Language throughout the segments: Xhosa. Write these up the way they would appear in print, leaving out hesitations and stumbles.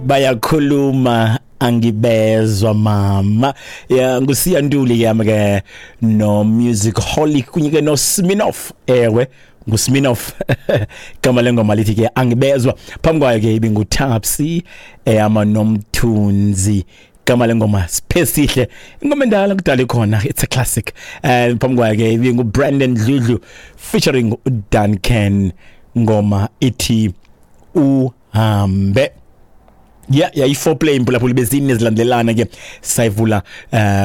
Bayakhuluma angibezwa mama. Ya, nguSiya Ntuli yami ke no Music Holic kunye ke no Sminoff. Ewe, nguSminoff. Igama lengoma lithi ke Angibezwa. Phambi kwayo ke ibinguTapsy eyama noMthunzi. Igama lengoma Siphesihle, ingoma endala kudala ikhona, it's a classic. Phambi kwayo ke ibinguBrandon Dludlu featuring uDuncan, ngoma ithi Uhambe. Yeah, yayi-foreplay imphulaphula, bezine zilandelana ke. Sayivula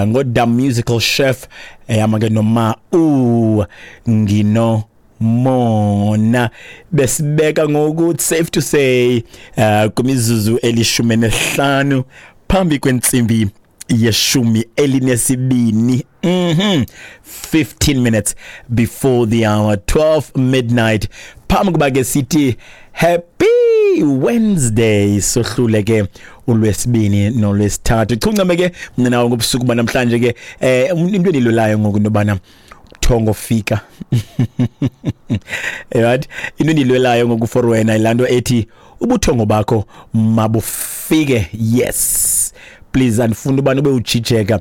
ngoDam Musical Chef eyama ke noma u ngino mona. Besibeka ngokuthi safe to say kumizuzu 15 phambi kwentsimbi ye-12. 15 minutes before the hour 12 midnight. Phambi kuba ke sithi happy Wednesday, sohlule ke ulwesibini nolwesithathu. Chuncame ke mna nawe ngobusuku banamhlanje ke. Into endilolayo ngoku into thongo fika, right? Into endilwelayo ngoku for wena ilanto ethi ubuthongo bakho mabufike. Yes please, andifuni ubani ube ujijeka,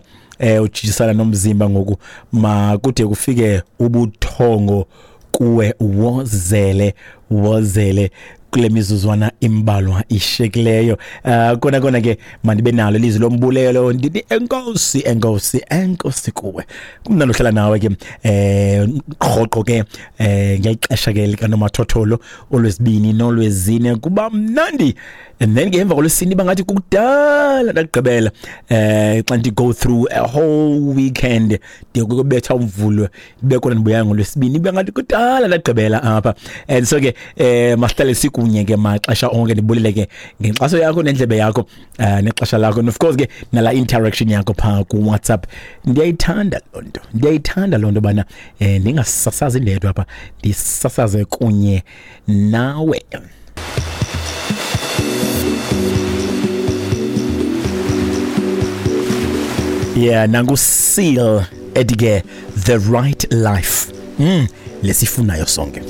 ujijisana nomzimba ngoku. Makude kufike ubuthongo kuwe, wozele wozele kule mizuzwana imbalwa ishekileyo. Kona kona ke mandibe nalo ilizwi lombulelo, ndithi enkosi, enkosi, enkosi kuwe. Kumnandi uhlala nawe ke rhoqo ke ngexesha ke likanomathotholo olwesibini nolwezine, kuba mnandi. And then ke emva kolwesine bangathi kukudala ndagqibela xa ndi go through a whole weekend, ndiye kubetha umvulo bekona, ndibuya ngolwesibini, bangathi kudala ndagqibela apha. And so ke masihlale sikunye ke maxesha onke. Ndibulele ke ngenkxaso yakho nendlebe yakho nexesha lakho, and of course ke nala interaction yakho phaa ku WhatsApp. Ndiyayithanda loo nto, ndiyayithanda loo nto bana ndingasasazi ndedwa apha, ndisasaze kunye nawe. Yeah, nangu Seal ethi ke The Right Life. Lesifunayo sonke.